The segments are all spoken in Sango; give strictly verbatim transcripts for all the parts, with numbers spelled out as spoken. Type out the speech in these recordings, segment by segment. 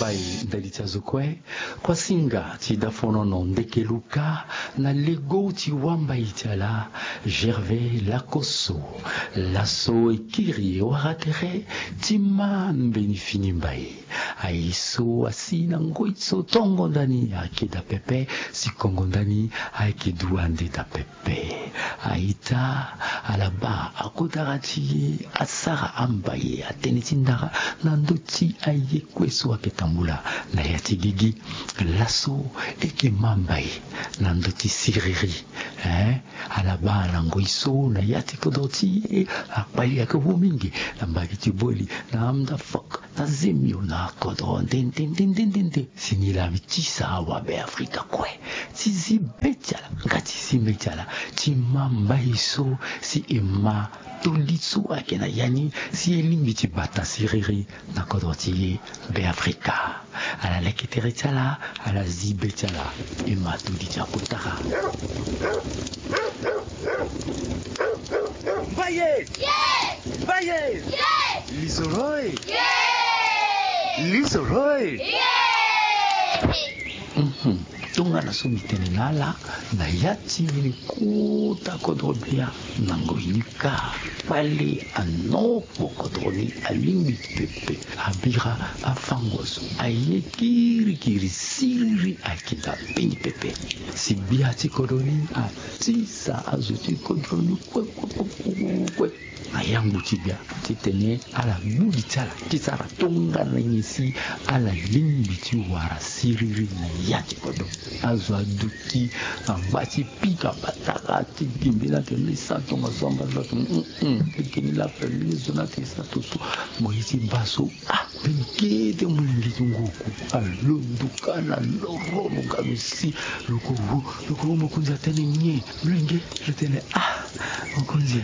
Mbai ndali ti azo kue. Kuasinga ti dafonono ndeke luka na lego ti wambai ti ala, Gervais Lakoso. Laso e kiri e wara tere ti ma mbeni fini mbai. Aye so asi na ngoi so tongo ndani ayeke daa pepe, si kongo ndani ayeke du ande daa pepe. Aita, ala baa akodara ti e, asara ambai, atene ti ndara na ndö ti aye kue so ayeke tambula na ya ti gigi. Laso e yeke ma mbai na ndö ti siriri. Eh, ala baa na ngoi so na ya ti kodro ti e, akpali ayeke wu mingi na mbage ti boli, na amda fok, na zemio, na kodro nde nde nde nde nde nde. Si ni laa mbi tisa awabe Afrika kue ti zi be ti ala, nga ti zi be ti ala, ti ma mbai so, si e ma toli so ayeke na ya ni, si e lingbi ti bata siriri na kodro ti e Beafrika. Ala leke tere ti ala, ala zi be ti ala, e ma toli ti akotara. Mbaye! Mbaye! Lizoro e! Lizoro e! Mhm. Tongana so mbi tene na ala, na ya ti mbeni kota kodro bia, na ngoi ni kâ, kpale anokpo kodro ni alingbi pepe, abira afango so, aye kirikiri siriri, ayeke daa mbeni pepe. Si gbia ti kodro ni atisa azo ti kodro ni kue, kue, kue, kue, kue. Na yangbu ti gbia titene ala gbu li ti ala ti sara tongana nyen si ala lingbi ti wara siriri na ya ti kodro. Azo aduti, angba ti pika batara ti gi mbeni atene e sara tongaso, angba ti atene, mm, mm, lege ni laa ape, mbeni zo ni atene e sara tongaso. Mo ye ti baa so, ah, mbeni kete molenge ti ngu oku alondo kâ na loro, lo ga lo si, lo ko wo, lo ko wo mokonzi atene nyen? Molenge lo tene, ah, mokonzi,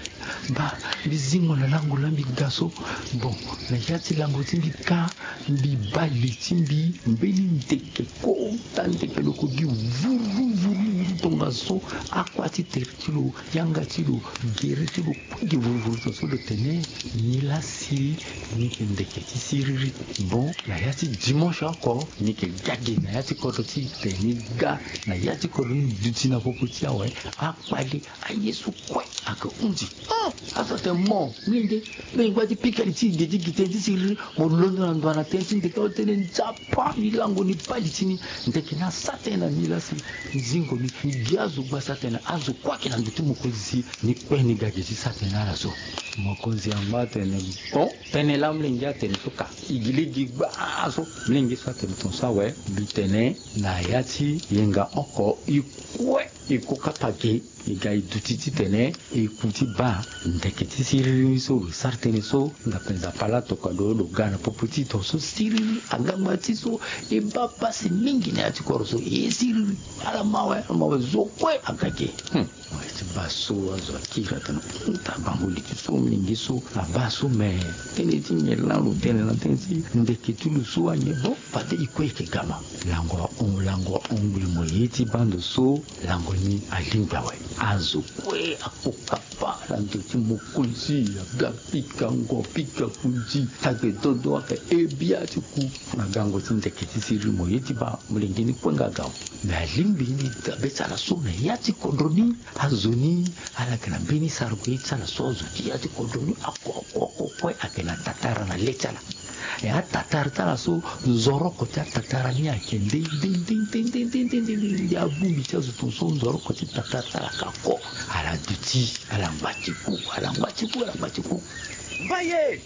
baa, mbi zingo na lango laa mbi ga so. Bon, na ya ti lango ti mbi kâ, mbi baa li ti mbi, mbeni ndeke, kota ndeke lo ko gi vuru, vuru, vuru tongaso, akua ti tere ti lo, yanga ti lo, gere ti lo, kue gi vuru, vuru tongaso, lo tene, ni laa si ni yeke ndeke ti siriri. Bon, na ya ti dimanche oko, ni yeke ga ge na ya ti kodro ti e, tene ni ga na ya ti kodro ni duti na popo ti awe, akpale, aye so kue ayeke hunzi. Ah, azo atene mo, molenge, mbi ngba ti pika li ti e gi ti gi tënë ti siriri, mo londo na ndo na tënë ti ndeke, atene nzapa, mbi lango ni baa li ti ni. Ndeke ni asara tënë na ni laa si zingo ni, gi azo gba sara tënë, azo kue ayeke na ndo ti mokonzi si ni kue ni ga ge ti sara tënë na ala so. Mokonzi angba atene, bon, tënë laa molenge atene so ka, e gi lege gbaa so. Molenge so atene tongaso awe, mbi tene na ya ti yenga oko, e kue e ko kapa ge, e ga e duti titene e ku ti baa ndeke ti siriri ni so lo sara tënë so. Ndape Nzapa laa atokua lo, lo ga na popo ti e tongaso siriri, angangba ti so e baa pasi mingi na ya ti kodro so, e siriri. Ala mawe, ala mawe, zo kue aga ge. Hmm. Mo ye ti baa so, azo akiri atene, hmm, ta bango li ti so, molenge so abaa so, me tënë ti nyen laa lo tene na tënë ti ndeke ti lo so anyen? Bon, fade e kue e yeke gama. Lango ahon, lango ahon ngbi, mo ye ti baa ndo so, lango ni alingbi awe. Azo kue akokapa na ndo ti mokonzi, aga pika ngo, pika kunzi, tagbe dodo ayeke e bia ti ku. Na gango ti ndeke ti siriri, mo ye ti baa, molenge ni kue nga aga awe. Me alingbi ni dabe ti ala so na ya ti kodro ni. Azo ni ala yeke na mbeni sara gue ti ala so, azo ti ya ti kodro ni oko oko oko kue ayeke na tatara na le ti ala. E atatara ti ala so, nzoroko ti atatara ni ayeke nde nde nde nde nde nde nde nde nde. Abongbi ti azo tongaso, nzoroko ti tatara ti ala ka ko. Ala duti, ala ngba ti ku, ala ngba ti ku, ala ngba ti ku. Mbaye!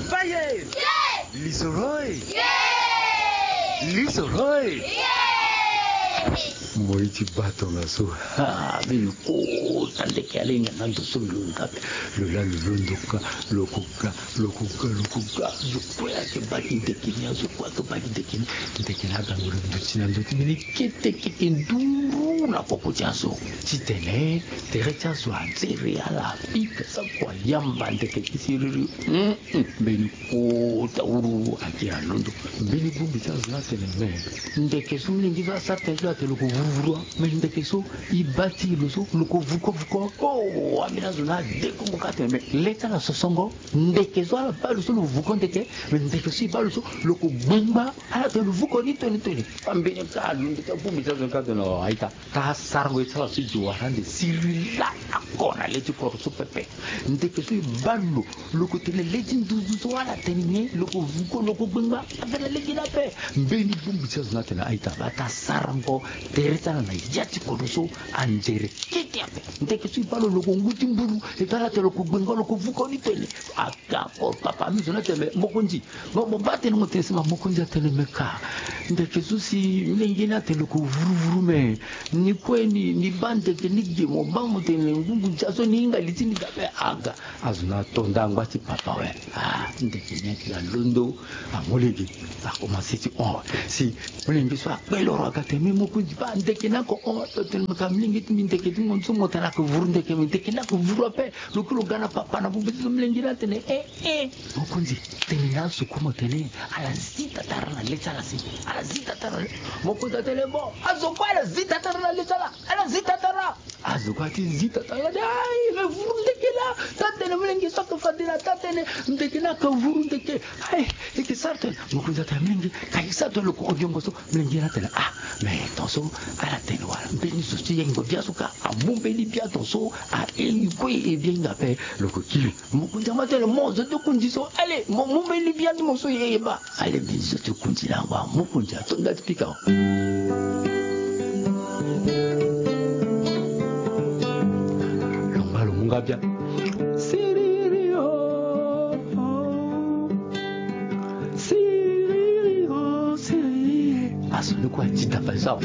Mbaye! Lizoro e! Lizoro e! Mo ye ti baa tongaso. Ah, mbi lo kota ndeke, ala hinga na ndo so mbi lo nga ape. Lo laa lo londo ka, lo ko ga, lo ko ga, lo ko ga. Azo kue ayeke baa gi ndeke ni, azo kue ayeke baa gi ndeke ni. Ndeke ni aga ngoro duti na ndo ti mbeni kete keke nduru na popo ti azo. Titene tere ti azo azere, ala pika sa kua yamba ndeke ti siriri. Mm, mm. Mbeni kota wuru ake alondo. Mbeni bongbi ti azo ni atene me, ndeke so molenge so asara tënë so atene lo ko wuru. vuru wa. Me ndeke so e baa ti lo so lo ko vuko vuko. Oh, ambeni azo na ade kongo ka atene me le ti ala sosongo. Ndeke so ala baa lo so lo vuko ndeke. Me ndeke so e baa lo so lo ko gbengba. Ala tene lo vuko ni toni toni. Ambeni ka alondo ti abongbi ti azo ni ka atene, oh, aita, ka sarango ye ti ala so e zo wara ande sirila ako na le ti kodro so pepe. Ndeke so e baa lo, lo ko tene le ti nduzu so ala tene nyen, lo ko vuko, lo ko gbengba. Ape na lege ni ape. Mbeni bongbi ti azo ni atene aita, bata sarango tere ti ala na ya ti kodro so anzere kete ape. Ndeke so e baa lo, lo ko ngu ti mburu. E baa ala tene lo ko gbengba, lo ko vuko ni tene. Aga ko papa, ambeni zo ni atene me mokonzi, mo mo baa tene mo tene si ma mokonzi atene me ka. Ndeke so si mlenge ni atene lo ko vuru vuru me. Ni kue ni, ni baa ndeke ni ge, mo baa mo tene ngungu ndia so ni hinga li ti ni ga ape. Aga. Azo ni ato nda angba ti papa awe. Ah, ndeke ni ayeke alondo. Amolenge akomanse ti hon. Si molenge so akpe loro aga tene me mokonzi baa ndeke ni ako hon. Lo tene me ka molenge ti mbi, ndeke ti mo so mo tene ayeke vuru ndeke me, ndeke ni ayeke vuru ape. Lo kue lo ga na papa na bongbi ti so molenge ni atene eh eh. Mokonzi, tene na azo kue mo tene ala zi tatara na le ti ala si. Ala zi tatara. Mokonzi atene bon, azo kue ala zi tatara na le ti ala. Ala zi tatara. Azo kue ati zi tatara, ala tene ai, me vuru ndeke laa. Taa tene molenge so ayeke fade na taa tene ndeke ni ayeke vuru ndeke. Ai, e yeke sara tene. Mokonzi atene molenge, ka e sara tene lo ko hon diongo so. Molenge ni atene ah, me tongaso ala tene wala mbeni zo ti yengo bia so ka amu mbeni bia tongaso. Aye kue e bia hinga ape lo ko kiri. Mokonzi ama tene mo zo ti kunzi so. Ale mo mu mbeni bia ti mo so ye ye baa. Ale mbeni zo ti kunzi na ngba mokonzi ato nda ti pika. Lo ngba lo mu nga bia. Siriri o, siriri o, siriri. Aso ni kue ati dapa so.